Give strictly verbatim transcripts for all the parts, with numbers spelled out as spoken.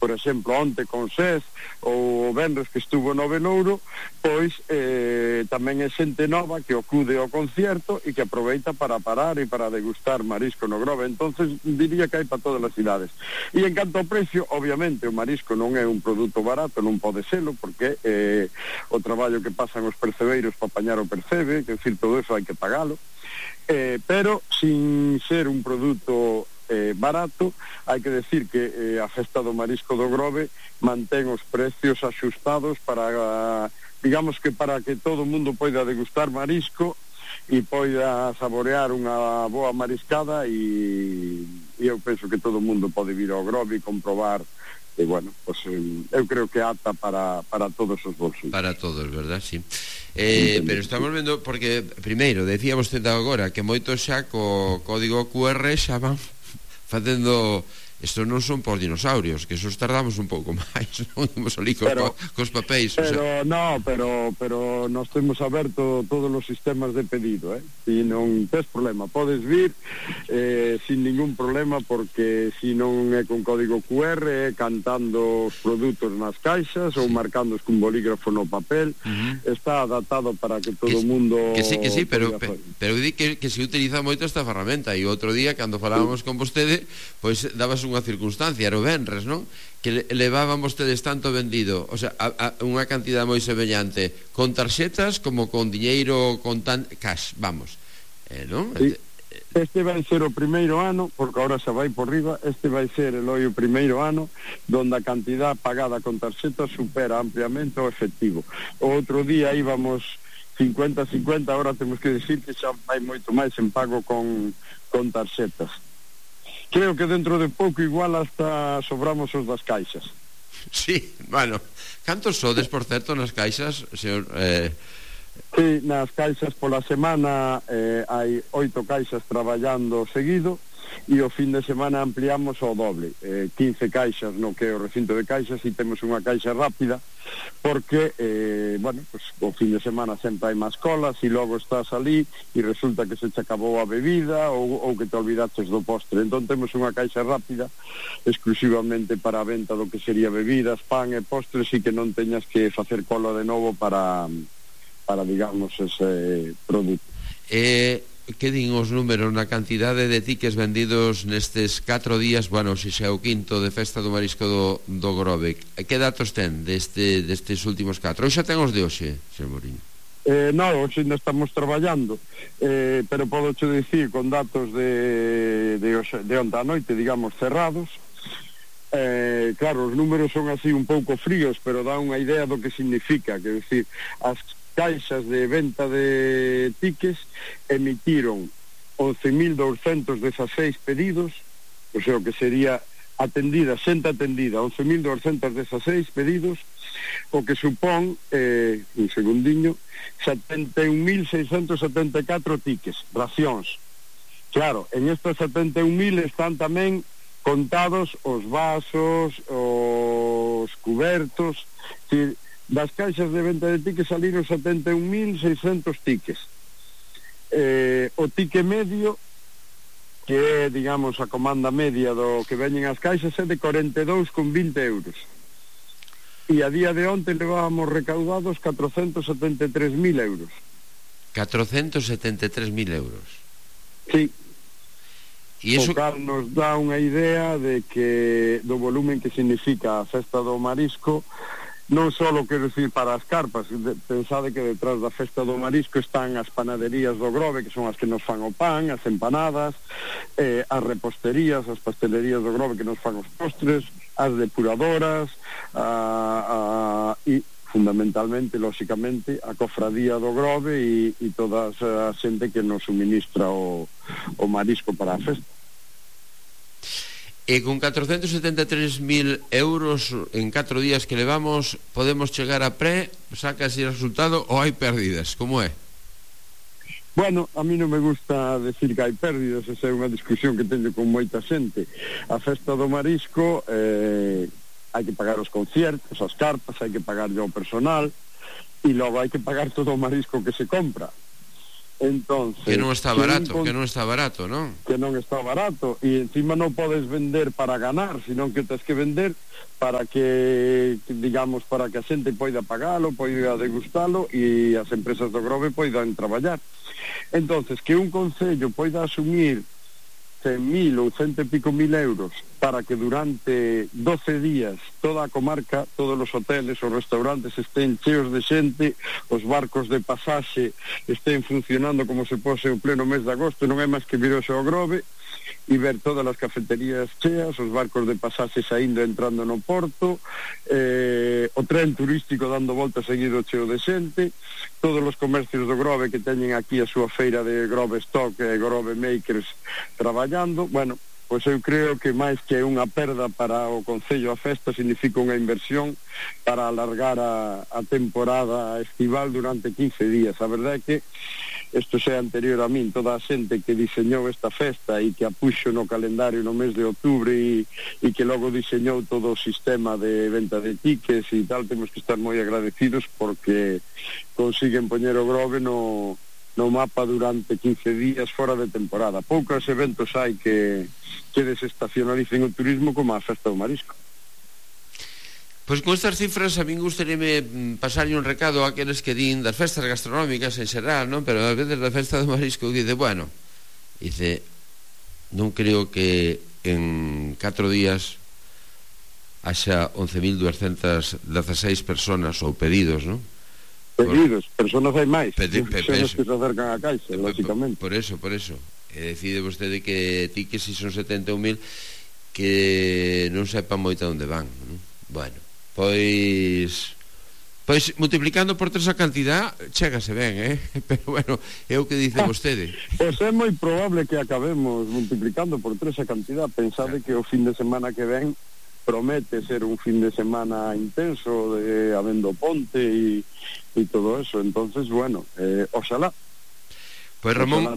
por exemplo, onte con Sés ou o venres que estuvo no Venouro, pois eh, tamén é xente nova que acude ao concierto e que aproveita para parar e para degustar marisco no Grove. Entonces diría que hai para todas as cidades. E en canto ao precio, obviamente o marisco non é un produto barato, non pode selo, porque eh, o traballo que pasan os percebeiros para apañar o percebe, que decir, todo eso hai que pagalo, eh, pero sin ser un produto Eh, barato, hai que decir que eh, a Festa do Marisco do Grove mantén os precios axustados para, digamos que para que todo o mundo poida degustar marisco e poida saborear unha boa mariscada, e, e eu penso que todo o mundo pode vir ao Grove e comprobar. E bueno, pues, eu creo que ata para, para todos os bolsos. Para todos, verdad? Sí. Eh, pero estamos vendo, porque primeiro, decía vostede agora que moitos xa co código Q R xa van facendo. Estos non son por dinosaurios, que esos tardamos un pouco máis, non imos ali cos, pero, cos papéis. Pero, o sea. no, pero, pero nos temos aberto todos os sistemas de pedido, eh? E non tes problema, podes vir eh, sin ningún problema, porque si non é con código Q R, é cantando os produtos nas caixas, sí, ou marcándoos cun bolígrafo no papel, uh-huh. Está adaptado para que todo o mundo... Que sí, que sí, pero, pero, pero di que, que se utiliza moito esta ferramenta, e outro día, cando falábamos sí. con vostede, pois pues, dabas unha circunstancia, era o venres, non? Que levaban vostedes tanto vendido, o sea, a, a, unha cantidad moi semellante con tarxetas como con diñeiro, con tan cash, vamos, eh, non? Sí. Este vai ser o primeiro ano, porque agora xa vai por riba, este vai ser el o primeiro ano donde a cantidad pagada con tarxetas supera ampliamente o efectivo. O outro día íbamos cincuenta cincuenta, agora temos que decir que xa vai moito máis en pago con, con tarxetas. Creo que dentro de pouco igual hasta sobramos os das caixas. Sí, bueno, cantos sodes, por certo, nas caixas, señor? Eh... Sí, nas caixas pola semana eh, hai oito caixas traballando seguido, e o fin de semana ampliamos o doble, eh, quince caixas no que é o recinto de caixas, e temos unha caixa rápida, porque, eh, bueno, pues, o fin de semana sempre hai máis colas, e logo estás ali, e resulta que se te acabou a bebida, ou, ou que te olvidaches do postre. Entón temos unha caixa rápida, exclusivamente para a venta do que sería bebidas, pan e postres, e que non teñas que facer cola de novo para, para digamos, ese produto. Eh... Que din os números na cantidade de tickets vendidos nestes catro días, bueno, se xa é o quinto de Festa do Marisco do, do Grove? Que datos ten deste, destes últimos catro? Hoxe ten os de hoxe, señor Mouriño? Eh, non, hoxe ainda estamos traballando, eh, pero podo che dicir con datos de, de, de onte a noite, digamos, cerrados. Eh, claro, os números son así un pouco fríos, pero dá unha idea do que significa, que decir, as caixas de venta de tickets emitiron once mil douscentos dezaseis pedidos, o sea, que sería atendida, xente atendida, once mil douscentos dezaseis pedidos, o que supón, eh, un segundiño, setenta e un mil seiscentos setenta e catro tickets, racións. Claro, en estos setenta e un mil están tamén contados os vasos, os cubertos, que das caixas de venta de tickets saliron setenta e un mil seiscentos tickets. Eh, o ticket medio, que é, digamos, a comanda media do que veñen as caixas, é de corenta e dous con vinte euros. E a día de onte levábamos recaudados catrocentos setenta e tres mil euros. catrocentos setenta e tres mil euros? Sí. E iso... O cal nos dá unha idea de que do volumen que significa a Festa do Marisco, non só, quero dicir, para as carpas. Pensade que detrás da Festa do Marisco están as panaderías do Grove, que son as que nos fan o pan, as empanadas, eh, as reposterías, as pastelerías do Grove que nos fan os postres, as depuradoras, a, a, e fundamentalmente, lóxicamente, a cofradía do Grove e, e toda a xente que nos suministra o, o marisco para a festa. E con catrocentos setenta e tres mil euros en catro días que levamos, podemos chegar a pré, saca así o resultado, ou hai pérdidas? Como é? Bueno, a mí non me gusta decir que hai pérdidas, esa é unha discusión que teño con moita xente. A Festa do Marisco, eh, hai que pagar os conciertos, as cartas, hai que pagar ao personal, e logo hai que pagar todo o marisco que se compra. Entonces, que non está barato, que, un, que non está barato, non? Que non está barato, e encima non podes vender para ganar, sino que tens que vender para que, digamos, para que a xente poida pagalo, poida degustalo e as empresas do Grove poidan traballar. Entonces, que un concello poida asumir cen mil ou cento e pico mil euros para que durante doce días toda a comarca, todos os hoteles, os restaurantes estén cheos de xente, os barcos de pasaxe estén funcionando como se pose o pleno mes de agosto, non é máis que virose ao Grove e ver todas as cafeterías cheas, os barcos de pasaxe saindo e entrando no porto, eh, o tren turístico dando volta seguido cheo de xente, todos os comercios do Grove que teñen aquí a súa feira de Grove Stock e Grove Makers traballando. Bueno, pois eu creo que máis que unha perda para o Concello a festa significa unha inversión para alargar a, a temporada estival durante quince días. A verdade é que isto xa é anterior a min, toda a xente que diseñou esta festa e que a puxo no calendario no mes de outubro e, e que logo diseñou todo o sistema de venta de tickets e tal, temos que estar moi agradecidos porque consiguen poñer o Grove no, no mapa durante quince días fora de temporada. Poucos eventos hai que, que desestacionalicen o turismo como a Festa do Marisco. Pois con estas cifras a min gustaríame pasarlle un recado a aqueles que din das festas gastronómicas en xeral, non? Pero a veces da Festa do Marisco dice, bueno, dice, non creo que en catro días haxa once mil duascentas dezaseis personas ou pedidos, non? Pedidos, por... personas hai máis, Pedi, pe, personas que se acercan a caixa, lógicamente. Por eso, por eso. E decide vostede que ti que si son setenta e un mil que non sepan moito onde van, non? Bueno, pois pois multiplicando por tres a cantidad chégase ben, eh? Pero bueno, é o que dice vostede. Pois é moi probable que acabemos multiplicando por tres a cantidad. Pensade claro. Que o fin de semana que ven promete ser un fin de semana intenso de habendo ponte e, e todo eso. Entonces, bueno, eh, oxalá. Pois Ramón,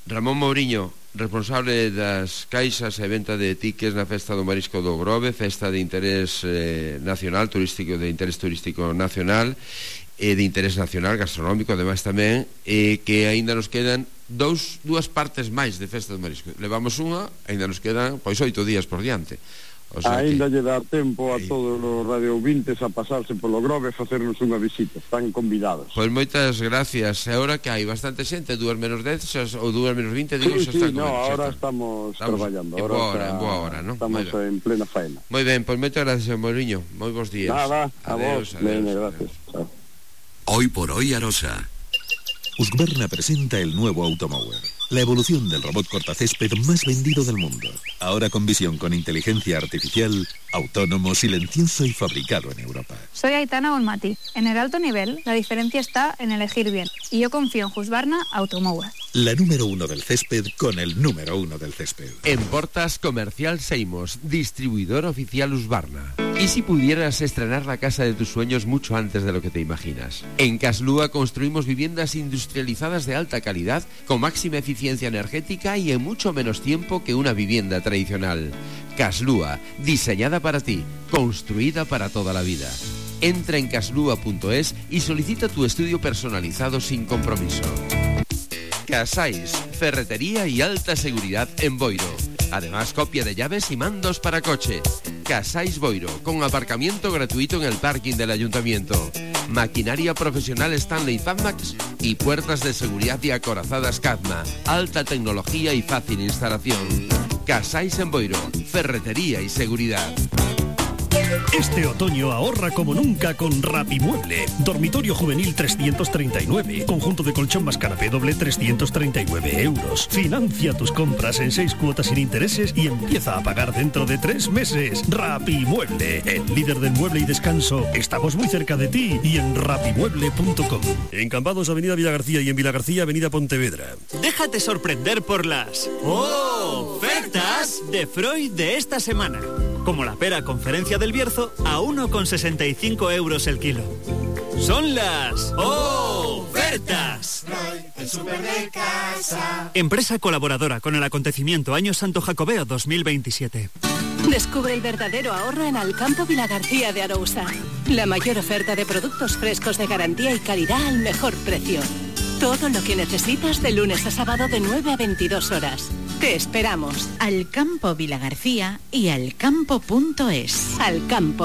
Ramón Mouriño, responsable das caixas e venta de tickets na Festa do Marisco do Grove, festa de interés eh, nacional, turístico, de interés turístico nacional e de interés nacional, gastronómico, ademais tamén, e que aínda nos quedan dous, dúas partes máis de Festa do Marisco. Levamos unha, aínda nos quedan pois oito días por diante. O sea ainda que... lle dá tempo a todos os radiovintes a pasarse polo Grove e facernos unha visita, están convidados. Pois moitas gracias. E agora que hai bastante xente, dúas menos dez ou dúas menos vinte, digo, sí, sí, no, agora estamos, estamos traballando en boa hora, en boa hora, ¿no? Estamos en plena faena. Moi ben, pois moitas gracias, Mouriño. Moi bons días. Nada, a vos, adeus, gracias. Chao. Hoy por hoy Arosa. Husqvarna presenta el nuevo Automower, la evolución del robot cortacésped más vendido del mundo. Ahora con visión con inteligencia artificial, autónomo, silencioso y fabricado en Europa. Soy Aitana Olmati. En el alto nivel, la diferencia está en elegir bien. Y yo confío en Husqvarna Automower. La número uno del césped con el número uno del césped. En Portas Comercial Seimos, distribuidor oficial Husqvarna. ¿Y si pudieras estrenar la casa de tus sueños mucho antes de lo que te imaginas? En Caslúa construimos viviendas industrializadas de alta calidad, con máxima eficiencia energética y en mucho menos tiempo que una vivienda tradicional. Caslúa, diseñada para ti, construida para toda la vida. Entra en caslúa punto es y solicita tu estudio personalizado sin compromiso. Casais, ferretería y alta seguridad en Boiro. Además, copia de llaves y mandos para coche. Casais Boiro, con aparcamiento gratuito en el parking del ayuntamiento. Maquinaria profesional Stanley Fatmax y puertas de seguridad y acorazadas Cadma. Alta tecnología y fácil instalación. Casais en Boiro, ferretería y seguridad. Este otoño ahorra como nunca con Rapimueble. Dormitorio juvenil trescientos treinta y nueve. Conjunto de colchón más canapé doble trescientos treinta y nueve euros. Financia tus compras en seis cuotas sin intereses y empieza a pagar dentro de tres meses. Rapimueble, el líder del mueble y descanso. Estamos muy cerca de ti y en rapimueble punto com. En Cambados, Avenida Villagarcía, y en Villagarcía, Avenida Pontevedra. Déjate sorprender por las ofertas de Freud de esta semana. Como la pera Conferencia del Bierzo a uno con sesenta y cinco euros el kilo. Son las ofertas. Freud, el súper de casa. Empresa colaboradora con el acontecimiento Año Santo Jacobeo dos mil veintisiete. Descubre el verdadero ahorro en Alcampo Vilagarcía de Arousa. La mayor oferta de productos frescos de garantía y calidad al mejor precio. Todo lo que necesitas de lunes a sábado de nueve a veintidós horas. Te esperamos. Alcampo Vilagarcía y alcampo punto es. Alcampo.